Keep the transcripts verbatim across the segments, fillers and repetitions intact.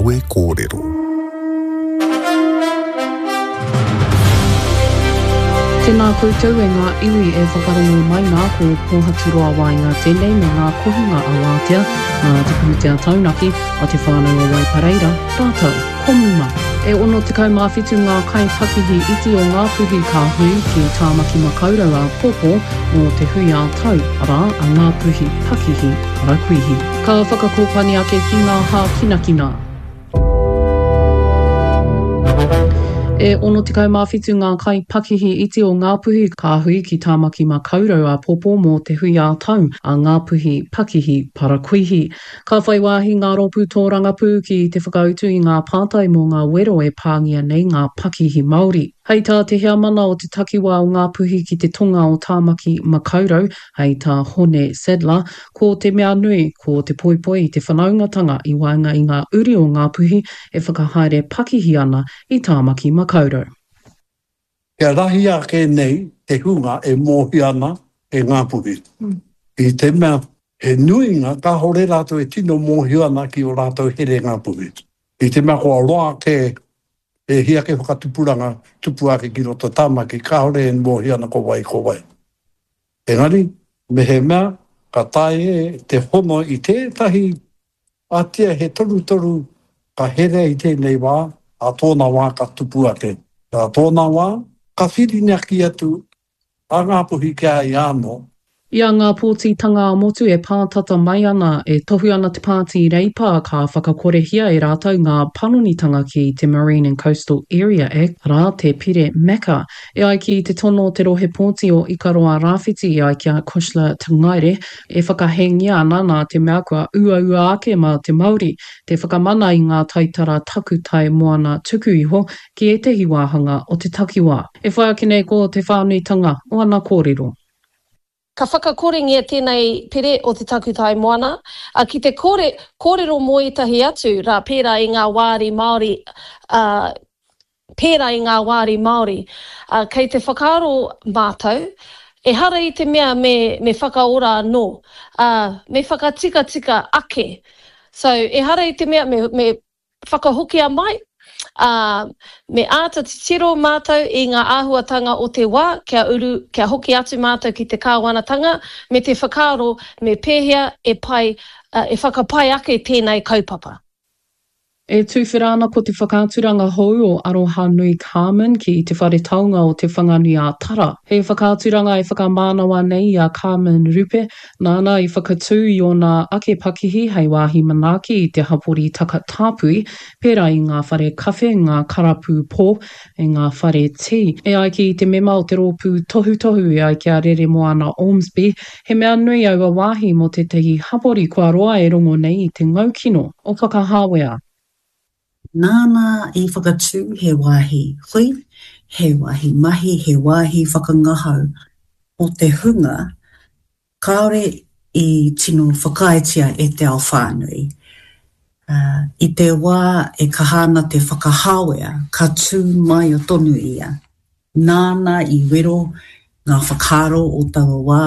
Kawe Kōrero. Tēnā koutou e ngā iwi e whakarongo mai nā, ko Pōhaturoa Waenga tēnei me ngā kohinga a Wātea, nā Te Pūtea Taunaki a Te Whānau o Waipareira, rātou ko Muma. E ono tekau mā whitu ngā kaipakihi iti o Ngāpuhi ka hui ki Tāmaki Makaurau āpōpō mō te hui ā-tau, arā, a Ngāpuhi Pakihi Parakuihi. Ka whakakōpani ake ki ngā hākinakina. E ono tekau mā whitu ngā kaipakihi iti o Ngāpuhi ka hui ki Tāmaki Makaurau āpōpō mō te hui ā-tau a Ngāpuhi Pakihi Parakuihi. Ka whai wāhi ngā rōpū tōrangapū ki te whakautu i ngā pātai mō ngā wero e pāngia nei ngā pakihi Māori. Hei tā te heamana o te takiwā o Ngāpuhi ki te tonga o Tāmaki Makaurau, hei tā Hone Sadler, ko te mea nui, ko te poipoi i te whanaungatanga i waenga i ngā uri o Ngāpuhi e whakahaere pakihi ana i Tāmaki Makaurau. Kia rahi ake nei te hunga e mōhio ana e Ngāpuhi. I te mea he nuinga kāore rātou e tino mōhio ana ki ō rātou here Ngāpuhi. I te mea kua roa ake, e hia ake whakatupuranga tupu ake ki roto Tāmaki, kāore e mōhio ana ko wai ko wai. Engari, mehemea ka taea te hono i tētahi atia he torutoru ka herea i tēnei wā, ā tōna wā ka tupu ake. Ā tōna wā, ka whirinaki atu a Ngāpuhi ki a ia anō. I a ngā pōtitanga ā-motu e pātata mai ana, e tohu ana te Pāti Reipa ka whakakorehia e rātou ngā panonitanga ki te Marine and Coastal Area Act, arā, te pire MACA. E ai ki te tono o te rohe pōti o Ikaroa Rāwhiti e ai ki a Cushla Tangaere, e whakahēngia ana nā te mea kua uaua ake mā te Māori te whakamana i ngā taitara takutai moana tuku iho ki ētehi wāhanga o te takiwā. E whai ake nei ko te whānuitanga o ana kōrero. Ka whakakorengia tēnei pere o te takutai moana, ā, ki te kore, kōrero mō ētahi atu rā pērā i ngā wāri Māori, ā, pērā i ngā wāri Māori. Ā, kei te whakaaro mātou, ehara i te mea me, me whakaora anō, ā, me whakatikatika ake. So, ehara i te mea me, me whakahokia mai, ā, me āta titiro mātou i ngā āhuatanga o te wā kia uru, kia hoki atu mātou ki te kāwanatanga me te whakaaro me pēhea e pai, e whakapai ake tēnei kaupapa. E tuwhera ana ko te whakaaturanga hou o Arohanui Carmen ki Te Whare Taonga o Te Whanganui-ā-Tara. He whakaaturanga e whakamānawa nei i a Carmen Rupe, nāna i whakatū i ōna ake pakihi hei wāhi manaaki i te hapori takatāpui, pērā i ngā whare kawhe, ngā karapu pō, me ngā whare tī. E ai ki te mema o te rōpū tohutohu e ai ki a Reremoana Ormsby, he mea nui aua wāhi mō tētahi hapori kua roa e rongo nei i te ngaukino o Whakahāwea. Nāna i whakatū he wāhi hui, he wāhi mahi, he wāhi whakangahau mō te hunga kāore i tino whakaaetia e te ao whānui. I te wā e kaha ana te whakahāwea, ka tū māia tonu ia. Nāna i wero ngā whakaaro o taua wā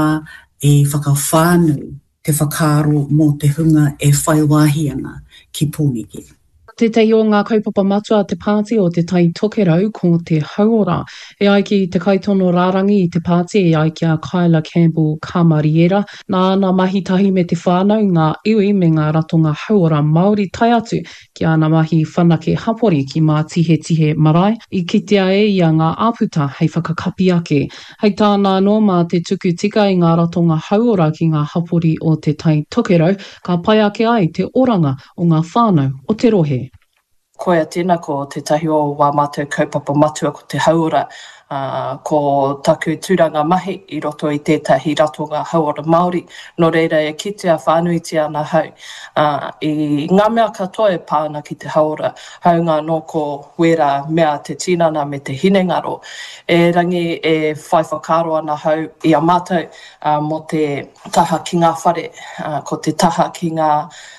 e whakawhānui te whakaaro mō te hunga e whai wāhi ana ki Pōneke. Tētahi o ngā kaupapa matua a te pāti o Te Tai Tokerau ko te hauora. E ai ki te kaitono rārangi i te pāti e ai ki a Kyla Campbell Kamariera, nā āna mahi tahi me te whānau, ngā iwi me ngā ratonga hauora Māori tae atu ki āna mahi whanake hapori ki Mātihetihe Marae, i kitea e ia ngā āputa hei whakakapi ake. Hei tāna anō, mā te tuku tika i ngā ratonga hauora ki ngā hapori o Te Tai Tokerau, ka pai ake ai te oranga o ngā whānau o te rohe. Koia tēnā ko tētahi o wā mātou kaupapa matua ko te hauora, ā, ko taku tūranga mahi i roto i tētahi ratonga hauora Māori, nō reira e kitea whānuitia ana hau, ā, i ngā mea katoa e pā ana ki te hauora, hāunga anō ko wērā mea te tinana me te hinengaro. Erangi e whai whakaaro ana hau i a mātou, ā, mō te taha ki ngā whare, ā, ko te taha ki ngā,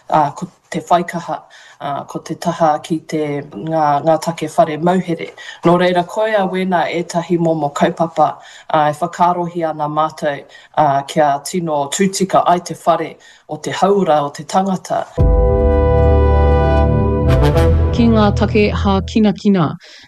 ā, ko te whaikaha, ā, ko te taha ki te, ngā, ngā take whare mauhere. Nō reira, koia wēnā ētahi momo kaupapa, ā, e whakaarohia ana mātou, ā, kia tino tūtika ai te whare o te hauora o te tangata. Ki ngā take hākinakina.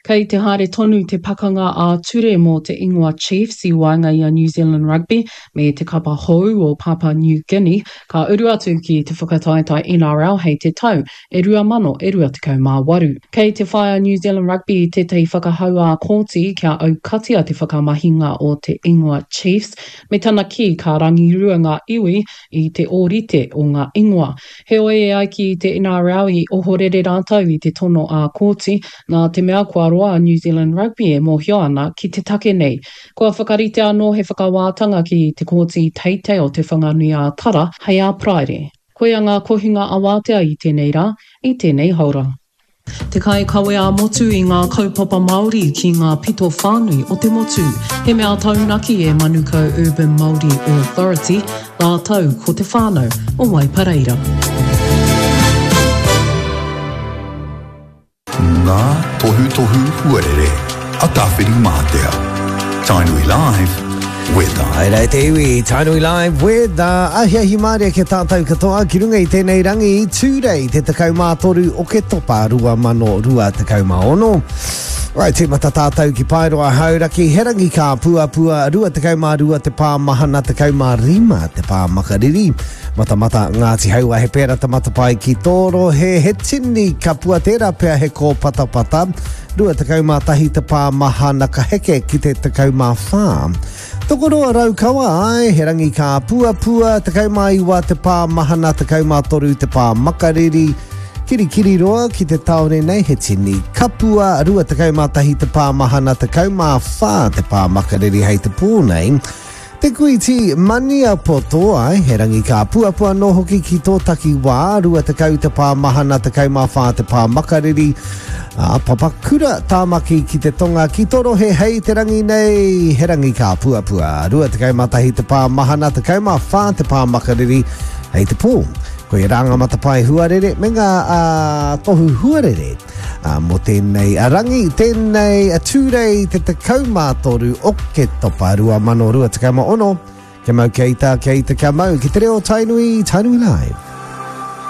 Kei te haere tonu te pakanga ā-ture mō te ingoa Chiefs i waenga i a New Zealand Rugby me te kapa hou o Papua New Guinea, ka uru atu ki te whakataetae NRL hei te tau e rua mano e rua tekau mā waru. Kei te whai a New Zealand Rugby i tētahi whakahau ā-kōti kia aukatia te whakamahinga o te ingoa Chiefs, me tana kī ka rangirua ngā iwi i te ōrite o ngā ingoa. Heoi e ai ki te NRL i ohorere rātou i te tono ā-kōti, nā te mea kua roa a New Zealand Rugby e mōhio ana ki te take nei. Kua whakaritea anō he whakawātanga ki te Kōti Teitei o Te Whanganui-ā-Tara hei ā Paraire. Koia ngā kohinga awātea i tēnei rā, i tēnei haora. Te kaikawe ā-motu i ngā kaupapa Māori ki ngā pito whānui o te motu. He mea taunaki e Manukau Urban Māori Authority rātou ko te whānau o Waipareira. Ngā tohutohu huarere a Tāwhirimātea. Tainui Live, Weather. Haere te iwi, Tainui Live Weather. Ahiahi mārie ki a tātou katoa ki runga i tēnei rangi i Tūrei te tekau mā toru Oketopa rua mano rua tekau mā ono. Right, tīmata tātou ki Paeroa Hauraki, he rangi kāpuapua, rua tekau mā rua te pā mahana, tekau mā rima te pā makariri. Matamata Ngāti Haua, he pēra te matapae ki tō rohe, he tini kapua, tērā pea he kōpatapata, rua tekau mā tahi te pā mahana ka heke ki te tekau mā whā. Tokoroa Raukawa, āe, he rangi kāpuapua, tekau mā iwa te pā mahana, tekau mā toru te pā makariri, Kirikiriroa ki te tāone nei, he tini kapua, rua tekau mā tahi te pā mahana, tekau mā whā te pā makariri hei te pō nei. Te Kuiti Maniapoto, āe, he rangi kāpuapua anō hoki ki tō takiwā, rua tekau te pā mahana, tekau mā whā te pā makariri, ā, Papakura, Tāmaki ki te tonga, ki tō rohe hei te rangi nei, he rangi kāpuapua, rua tekau mā tahi te pā mahana, tekau mā whā te pā makariri hei te pō. Koia rā ngā matapae huarere me ngā tohu huarere mō tēnei rangi, tēnei Tūrei te tekau mā toru Oketopa rua mano rua tekau mā ono. Kia mau, kia ita, kia ita, kia mau ki te reo Tainui, Tainui Live.